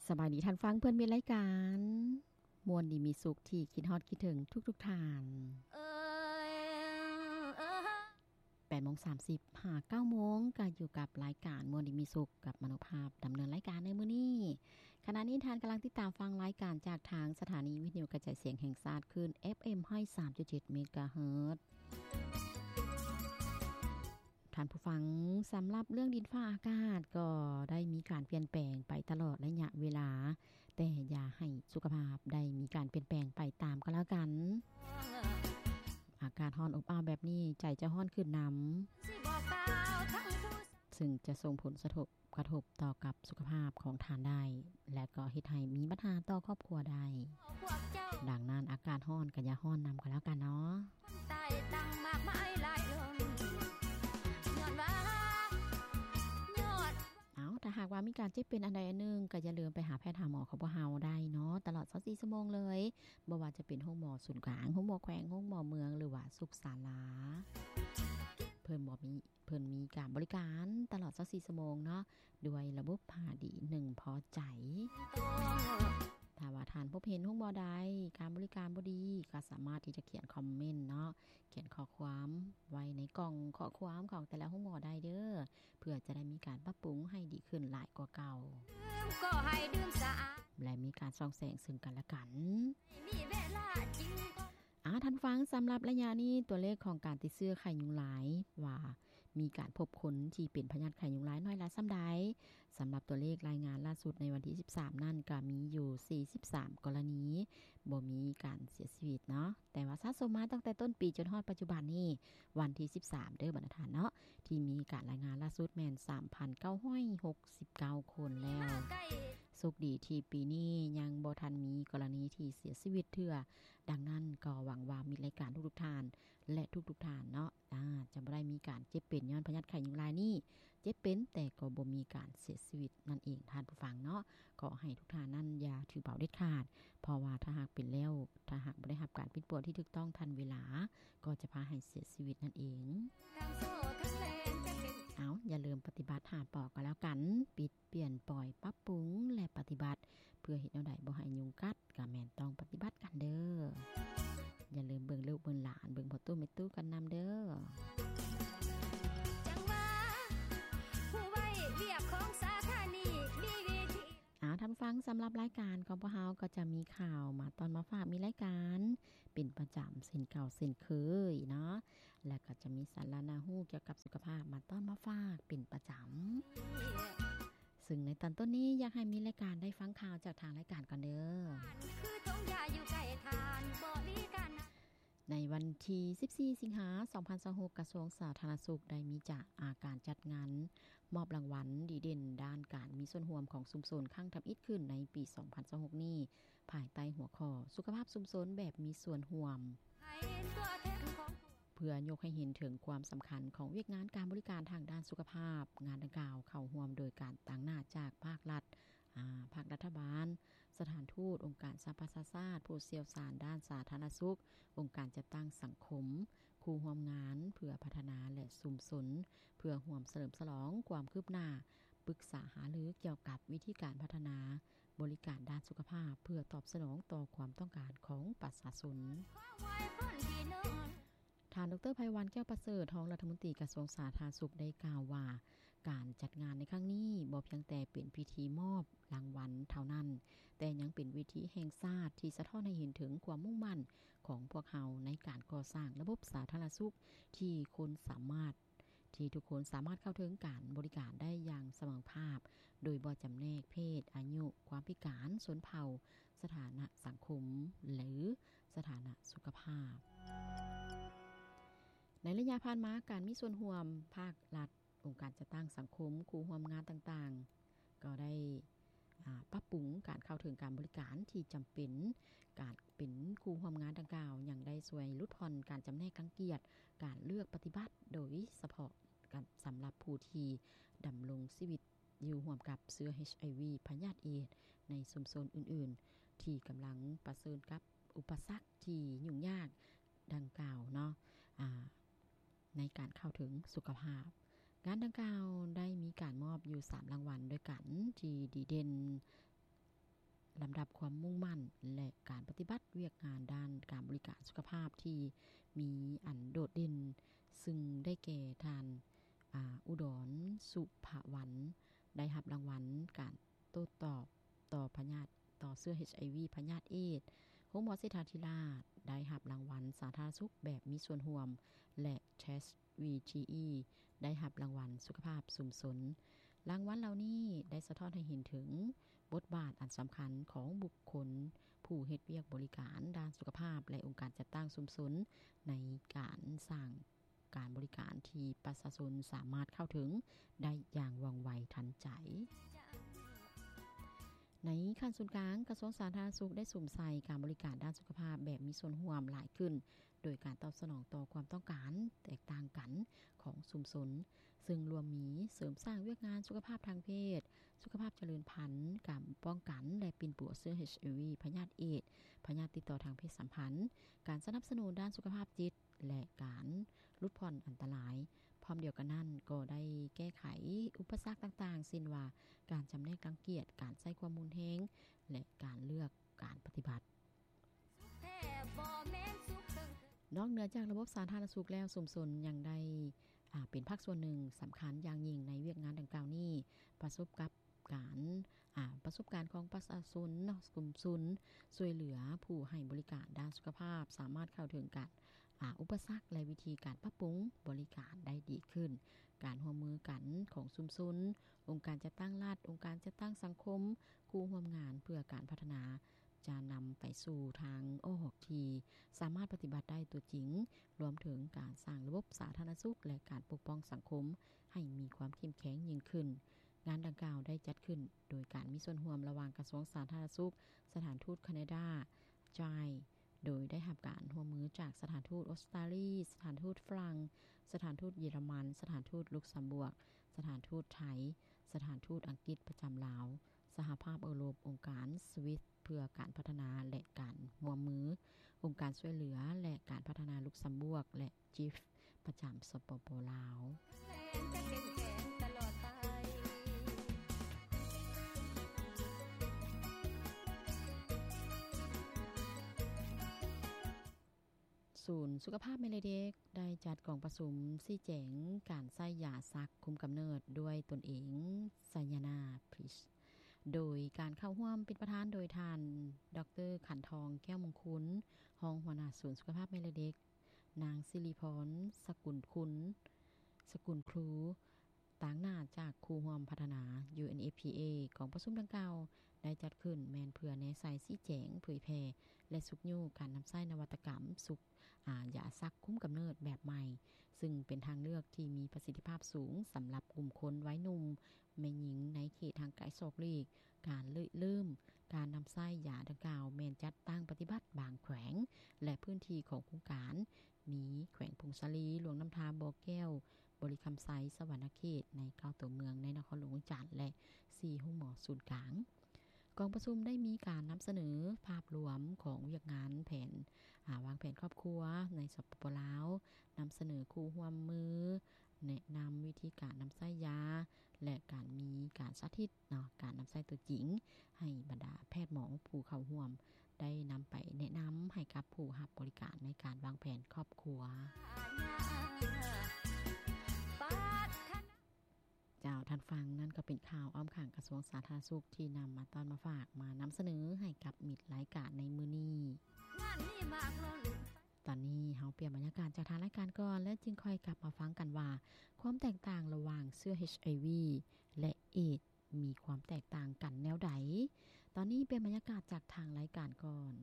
ສະບາຍດີທ່ານຟັງເພື່ອນມິດລາຍການ ມ່ວນດີມີສຸກທີ່ຄິດຮອດຄິດເຖິງທຸກໆທ່ານ. ແປດໂມງສາມສິບຫາເກົ້າໂມງ ກໍຢູ່ກັບລາຍການມ່ວນດີມີສຸກ ກັບມະໂນພາບດຳເນີນລາຍການໃນມື້ນີ້. ຂະນະນີ້ທ່ານກຳລັງຕິດຕາມຟັງລາຍການຈາກທາງສະຖານີວິທະຍຸກະຈາຍສຽງແຫ່ງຊາດ ຄື້ນ ເອັຟເອັມ ຮ້ອຍສາມຈຸດເຈັດ ເມກາເຮີດ. ທ່ານຜູ້ຟັງ, ສຳລັບເລື່ອງດິນຟ້າອາກາດກໍໄດ້ມີການປ່ຽນແປງໄປຕະຫຼອດໄລຍະເວລາ, ແຕ່ຢ່າໃຫ້ສຸຂະພາບໄດ້ມີການປ່ຽນແປງໄປຕາມກໍແລ້ວກັນ. ອາກາດຮ້ອນອົບອ້າວແບບນີ້ ໃຈຈະຮ້ອນຂຶ້ນນຳ, ຊຶ່ງຈະສົ່ງຜົນສະທົບ ກະທົບຕໍ່ກັບສຸຂະພາບຂອງທ່ານໄດ້ ແລະ ກໍເຮັດໃຫ້ມີບັນຫາຕໍ່ຄອບຄົວໄດ້. ດັ່ງນັ້ນ ອາກາດຮ້ອນກໍຢ່າຮ້ອນນຳກໍແລ້ວກັນເນາະ. ເອົາ, ຖ້າຫາກວ່າມີການເຈັບເປັນອັນໃດອັນໜຶ່ງ ກໍຢ່າລືມໄປຫາແພດຫາໝໍຂອງພວກເຮົາໄດ້ເນາະ ຕະຫຼອດຊາວສີ່ຊົ່ວໂມງເລີຍ, ບໍ່ວ່າຈະເປັນໂຮງໝໍສູນກາງ, ໂຮງໝໍແຂວງ, ໂຮງໝໍເມືອງ ຫຼືວ່າສຸກສາລາ. ເພິ່ນບໍ່ມີ ເພິ່ນມີການບໍລິການຕະຫຼອດຊາວສີ່ຊົ່ວໂມງເນາະ ດ້ວຍລະບົບ ຫ້າດີ ໜຶ່ງພໍໃຈ. ຖ້າວ່າທ່ານພົບເຫັນໂຮງໝໍໃດ ການບໍລິການບໍ່ດີ ກໍສາມາດທີ່ຈະຂຽນຄອມເມັນເນາະ, ຂຽນຂໍ້ຄວາມໄວ້ໃນກ່ອງຂໍ້ຄວາມຂອງແຕ່ລະໂຮງໝໍໄດ້ເດີ້ ເພື່ອຈະໄດ້ມີການປັບປຸງໃຫ້ດີຂຶ້ນຫຼາຍກວ່າເກົ່າ. ແລະ ມີການສ່ອງແສງເຊິ່ງກັນແລະກັນ. ອາ ທ່ານຟັງ, ສຳລັບໄລຍະນີ້ ຕົວເລກຂອງການຕິດເຊື້ອໄຂ້ຍຸງລາຍ ວ່າມີການພົບຄົນທີ່ເປັນພະຍາດໄຂ້ຍຸງລາຍນ້ອຍຫຼາຍສ່ຳໃດ. ສຳລັບຕົວເລກລາຍງານລ່າສຸດໃນວັນທີສິບສາມນັ້ນ ກໍມີຢູ່ສີ່ສິບສາມກໍລະນີ ບໍ່ມີການເສຍຊີວິດເນາະ, ແຕ່ວ່າສະສົມມາຕັ້ງແຕ່ຕົ້ນປີຈົນຮອດປັດຈຸບັນນີ້ ວັນທີສິບສາມເດີ້ ບັນດາທ່ານເນາະ, ທີ່ມີການລາຍງານລ່າສຸດແມ່ນສາມພັນເກົ້າຮ້ອຍຫົກສິບເກົ້າຄົນແລ້ວ. ໂຊກດີທີ່ປີນີ້ຍັງບໍ່ທັນມີກໍລະນີທີ່ເສຍຊີວິດເທື່ອ. ດັ່ງນັ້ນກໍຫວັງວ່າມິດລາຍການທຸກໆທ່ານ ແລະ ທຸກໆທ່ານເນາະ ອາ ຈະບໍ່ໄດ້ມີການເຈັບເປັນຍ້ອນພະຍາດໄຂ້ຍຸງລາຍນີ້, ເຈັບເປັນແຕ່ກໍບໍ່ມີການເສຍຊີວິດນັ້ນເອງ ທ່ານຜູ້ຟັງເນາະ. ຂໍໃຫ້ທຸກທ່ານນັ້ນຢ່າຖືເບົາເດັດຂາດ, ເພາະວ່າຖ້າຫາກເປັນແລ້ວ, ຖ້າຫາກບໍ່ໄດ້ຮັບການປິ່ນປົວທີ່ຖືກຕ້ອງທັນເວລາ ກໍຈະພາໃຫ້ເສຍຊີວິດນັ້ນເອງ. ເອົາ, ຢ່າລືມປະຕິບັດຫ້າ ປ ກໍແລ້ວກັນ, ປິດ ປ່ຽນ ປ່ອຍ ປັບປຸງ ແລະ ປະຕິບັດ. ເພື່ອເຮັດແນວໃດບໍ່ໃຫ້ຍຸງກັດ ກໍແມ່ນຕ້ອງປະຕິບັດກັນເດີ້. ຢ່າລືມເບິ່ງລູກເບິ່ງຫຼານ, ເບິ່ງພໍ່ຕູ້ແມ່ຕູ້ກັນນຳເດີ້. ເອົາ, ທ່ານຟັງ, ສຳລັບລາຍການຂອງພວກເຮົາກໍຈະມີຂ່າວມາຕ້ອນມາຝາກ, ມີລາຍການເປັນປະຈຳເຊັ່ນເກົ່າເຊັ່ນເຄີຍເນາະ. ແລະ ກໍຈະມີສາລະໜ້າຮູ້ກ່ຽວກັບສຸຂະພາບມາຕ້ອນມາຝາກເປັນປະຈຳ. ຊຶ່ງໃນຕອນຕົ້ນນີ້ ຢາກໃຫ້ມິດລາຍການໄດ້ຟັງຂ່າວຈາກທາງລາຍການກ່ອນເດີ້. ໃນວັນທີສິບສີ່ ສິງຫາ ສອງພັນຊາວຫົກ ກະຊວງສາທາລະນະສຸກໄດ້ມີຈາກອາການຈັດງານມອບລາງວັນດີເດັ່ນດ້ານການມີສ່ວນຮ່ວມຂອງຊຸມຊົນຄັ້ງທຳອິດຂຶ້ນໃນປີສອງພັນຊາວຫົກນີ້ ພາຍໃຕ້ຫົວຂໍ້ ສຸຂະພາບຊຸມຊົນແບບມີສ່ວນຮ່ວມ. ເພື່ອຍົກໃຫ້ເຫັນເຖິງຄວາມສຳຄັນຂອງວຽກງານການບໍລິການທາງດ້ານສຸຂະພາບ, ງານດັ່ງກ່າວເຂົ້າຮ່ວມໂດຍການຕາງໜ້າຈາກພາກລັດ, ອາ, ພາກລັດຖະບານ, ສະຖານທູດ, ອົງການສະຫະປະຊາຊາດ, ຜູ້ຊ່ຽວຊານດ້ານສາທາລະນະສຸກ, ອົງການຈັດຕັ້ງສັງຄົມ, ຄູ່ຮ່ວມງານເພື່ອພັດທະນາ ແລະ ຊຸມຊົນ ເພື່ອຮ່ວມສະເຫຼີມສະຫຼອງຄວາມຄືບໜ້າ, ປຶກສາຫາລືກ່ຽວກັບວິທີການພັດທະນາ ບໍລິການດ້ານສຸຂະພາບ ເພື່ອຕອບສະໜອງຕໍ່ຄວາມຕ້ອງການຂອງປະຊາຊົນ. ທ່ານ ດຣ ໄພວັນ ແກ້ວປະເສີດ ຮອງລັດຖະມົນຕີກະຊວງສາທາລະນະສຸກ ໄດ້ກ່າວວ່າ ການຈັດງານໃນຄັ້ງນີ້ບໍ່ພຽງແຕ່ເປັນພິທີມອບລາງວັນເທົ່ານັ້ນ, ແຕ່ຍັງເປັນເວທີແຫ່ງຊາດທີ່ສະທ້ອນໃຫ້ເຫັນເຖິງຄວາມມຸ່ງໝັ້ນຂອງພວກເຮົາໃນການກໍ່ສ້າງລະບົບສາທາລະນະສຸກທີ່ຄົນສາມາດ ທີ່ທຸກຄົນສາມາດເຂົ້າເຖິງການບໍລິການໄດ້ຢ່າງສະເໝີພາບ ໂດຍບໍ່ຈຳແນກເພດ, ອາຍຸ, ຄວາມພິການ, ຊົນເຜົ່າ, ສະຖານະສັງຄົມ ຫຼື ສະຖານະສຸຂະພາບ. ໃນໄລຍະຜ່ານມາ, ການມີສ່ວນຮ່ວມພາກລັດ, ອົງການຈັດຕັ້ງສັງຄົມ, ຄູ່ຮ່ວມງານຕ່າງໆ ກໍໄດ້ ອາ ປັບປຸງການເຂົ້າເຖິງການບໍລິການທີ່ຈຳເປັນ. ການເປັນຄູ່ຮ່ວມງານດັ່ງກ່າວ ຍັງໄດ້ຊ່ວຍຫຼຸດຜ່ອນການຈຳແນກລັງກຽດ, ການເລືອກປະຕິບັດ ໂດຍສະເພາະການ ສຳລັບຜູ້ທີ່ດຳລົງຊີວິດຢູ່ຮ່ວມກັບເຊື້ອ ເອດສ໌ ພະຍາດເອດສ໌ ໃນຊຸມຊົນອື່ນໆ ທີ່ກຳລັງປະເຊີນກັບອຸປະສັກທີ່ຫຍຸ້ງຍາກດັ່ງກ່າວເນາະ ອາ ໃນການເຂົ້າເຖິງສຸຂະພາບ. ງານດັ່ງກ່າວໄດ້ມີການມອບຢູ່ສາມລາງວັນດ້ວຍກັນ ທີ່ດີເດັ່ນ ລຳດັບຄວາມມຸ່ງໝັ້ນ ແລະ ການປະຕິບັດວຽກງານດ້ານການບໍລິການສຸຂະພາບທີ່ມີອັນໂດດເດັ່ນ, ຊຶ່ງໄດ້ແກ່ທ່ານ ອາ ອຸດອນ ສຸພະວັນ ໄດ້ຮັບລາງວັນການໂຕ້ຕອບຕໍ່ພະຍາດ ຕໍ່ເຊື້ອ ເອັດໄອວີ ພະຍາດເອດ. ໂຮງໝໍເສດຖາທິລາດ ໄດ້ຮັບລາງວັນສາທາລະນະສຸກແບບມີສ່ວນຮ່ວມ ແລະ ເທສ ວີທີອີ ໄດ້ຮັບລາງວັນສຸຂະພາບຊຸມຊົນ. ລາງວັນເຫຼົ່ານີ້ໄດ້ສະທ້ອນໃຫ້ເຫັນເຖິງບົດບາດອັນສຳຄັນຂອງບຸກຄົນຜູ້ເຮັດວຽກບໍລິການດ້ານສຸຂະພາບ ແລະ ອົງການຈັດຕັ້ງຊຸມຊົນ ໃນການສ້າງການບໍລິການທີ່ປະຊາຊົນສາມາດເຂົ້າເຖິງໄດ້ຢ່າງວ່ອງໄວທັນໃຈ. ໃນຂັ້ນສູນກາງ, ກະຊວງສາທາລະນະສຸກໄດ້ສຸມໃສ່ການບໍລິການດ້ານສຸຂະພາບແບບມີສ່ວນຮ່ວມຫຼາຍຂຶ້ນ, ໂດຍການຕອບສະໜອງຕໍ່ຄວາມຕ້ອງການແຕກຕ່າງກັນຂອງຊຸມຊົນ, ເຊິ່ງລວມມີເສີມສ້າງວຽກງານສຸຂະພາບທາງເພດ, ສຸຂະພາບຈະເລີນພັນ, ການປ້ອງກັນ ແລະ ປິ່ນປົວເຊື້ອ ເອັດໄອວີ ພະຍາດເອດ, ພະຍາດຕິດຕໍ່ທາງເພດສຳພັນ, ການສະໜັບສະໜູນດ້ານສຸຂະພາບຈິດ ແລະ ການຫຼຸດຜ່ອນອັນຕະລາຍ. ພ້ອມດຽວກັນນັ້ນກໍໄດ້ແກ້ໄຂອຸປະສັກຕ່າງໆ ເຊັ່ນວ່າ ການຈຳແນກລັງກຽດ, ການໃຊ້ຄວາມຮຸນແຮງ ແລະ ການເລືອກການປະຕິບັດ. ນອກເໜືອຈາກລະບົບສາທາລະນະສຸກແລ້ວ, ຊຸມຊົນຍັງໄດ້ ອາ ເປັນພາກສ່ວນໜຶ່ງສຳຄັນຢ່າງຍິ່ງໃນວຽກງານດັ່ງກ່າວນີ້. ປະສົບກັບການ ອາ ປະສົບການຂອງປະຊາຊົນເນາະ, ຊຸມຊົນຊ່ວຍເຫຼືອຜູ້ໃຫ້ບໍລິການດ້ານສຸຂະພາບ ສາມາດເຂົ້າເຖິງການ ອາ ອຸປະສັກ ແລະ ວິທີການປັບປຸງບໍລິການໄດ້ດີຂຶ້ນ. ການຮ່ວມມືກັນຂອງຊຸມຊົນ, ອົງການຈັດຕັ້ງລັດ, ອົງການຈັດຕັ້ງສັງຄົມ, ຄູ່ຮ່ວມງານເພື່ອການພັດທະນາ ຈະນຳໄປສູ່ທາງອອກທີ່ສາມາດປະຕິບັດໄດ້ຕົວຈິງ, ລວມເຖິງການສ້າງລະບົບສາທາລະນະສຸກ ແລະ ການປົກປ້ອງສັງຄົມໃຫ້ມີຄວາມເຂັ້ມແຂງຍິ່ງຂຶ້ນ. ງານດັ່ງກ່າວໄດ້ຈັດຂຶ້ນໂດຍການມີສ່ວນຮ່ວມລະຫວ່າງກະຊວງສາທາລະນະສຸກ, ສະຖານທູດແຄນາດາ, ຈາຍ ໂດຍໄດ້ຮັບການຮ່ວມມືຈາກສະຖານທູດອົດສະຕາລີ, ສະຖານທູດຝຣັ່ງ, ສະຖານທູດເຢຍລະມັນ, ສະຖານທູດລຸກຊຳບວກ, ສະຖານທູດໄທ, ສະຖານທູດອັງກິດປະຈຳລາວ, ສະຫະພາບເອີຣົບ, ອົງການສະວິດເພື່ອການພັດທະນາ ແລະ ການຮ່ວມມື, ອົງການຊ່ວຍເຫຼືອ ແລະ ການພັດທະນາລຸກຊຳບວກ ແລະ ຈິຟ ປະຈຳ ສປປ ລາວ. ສູນສຸຂະພາບແມ່ ແລະ ເດັກ ໄດ້ຈັດກອງປະຊຸມຊີ້ແຈງການໃຊ້ຢາຊັກຄຸມກຳເນີດດ້ວຍຕົນເອງ ໄຊຍານາ ພຣີຊ ໂດຍການເຂົ້າຮ່ວມເປັນປະທານໂດຍທ່ານ ດອກເຕີ ຂັນທອງ ແກ້ວມົງຄຸນ ຮອງຫົວໜ້າສູນສຸຂະພາບແມ່ ແລະ ເດັກ, ນາງ ສິລິພອນ ສະກຸນຄຸນ ສະກຸນຄູ ຕາງໜ້າຈາກຄູ່ຮ່ວມພັດທະນາ ຢູເອັນເອັຟພີເອ. ກອງປະຊຸມດັ່ງກ່າວໄດ້ຈັດຂຶ້ນແມ່ນເພື່ອແນໃສ່, ຊີ້ແຈງ, ເຜີຍແຜ່ ແລະ ຊຸກຍູ້ການນຳໃຊ້ນະວັດຕະກຳຊຸກ ອາ ຢາຊັກຄຸມກຳເນີດແບບໃໝ່, ຊຶ່ງເປັນທາງເລືອກທີ່ມີປະສິດທິພາບສູງສຳລັບກຸ່ມຄົນໄວໜຸ່ມ, ແມ່ຍິງໃນເຂດຫ່າງໄກສອກຫຼີກ. ການລິເລີ່ມການນຳໃຊ້ຢາດັ່ງກ່າວແມ່ນຈັດຕັ້ງປະຕິບັດບາງແຂວງ ແລະ ພື້ນທີ່ຂອງໂຄງການ ມີແຂວງຜົ້ງສາລີ, ຫຼວງນ້ຳທາ, ບໍ່ແກ້ວ, ບໍລິຄຳໄຊ, ສະຫວັນນະເຂດ ໃນເກົ້າຕົວເມືອງໃນນະຄອນຫຼວງວຽງຈັນ ແລະ ສີ່ໂຮງໝໍສູນກາງ. ກອງປະຊຸມໄດ້ມີການນຳສະເໜີພາບລວມຂອງວຽກງານແຜນ ອາ ວາງແຜນຄອບຄົວໃນ ສປປ ລາວ, ນຳສະເໜີຄູ່ຮ່ວມມື, ແນະນຳວິທີການນຳໃຊ້ຢາ ແລະ ການມີການສາທິດ ເນາະ ການນຳໃຊ້ຕົວຈິງ ໃຫ້ບັນດາແພດໝໍຜູ້ເຂົ້າຮ່ວມໄດ້ນຳໄປແນະນຳໃຫ້ກັບຜູ້ຮັບບໍລິການໃນການວາງແຜນຄອບຄົວ. ເຈົ້າ, ທ່ານຟັງນັ້ນກໍເປັນຂ່າວອ້ອມຂ້າງກະຊວງສາທາລະນະສຸກທີ່ນຳມາຕ້ອນມາຝາກ ມານຳສະເໜີໃຫ້ກັບມິດລາຍການໃນມື້ນີ້. ຕອນນີ້ເຮົາປ່ຽນບັນຍາກາດຈາກທາງລາຍການກ່ອນ ແລ້ວຈຶ່ງຄ່ອຍກັບມາຟັງກັນວ່າ ຄວາມແຕກຕ່າງລະຫວ່າງເຊື້ອເອັດໄອວີ ແລະ ເອດ ມີຄວາມແຕກຕ່າງກັນແນວໃດ? ຕອນນີ້ປ່ຽນບັນຍາກາດຈາກທາງລາຍການກ່ອນ.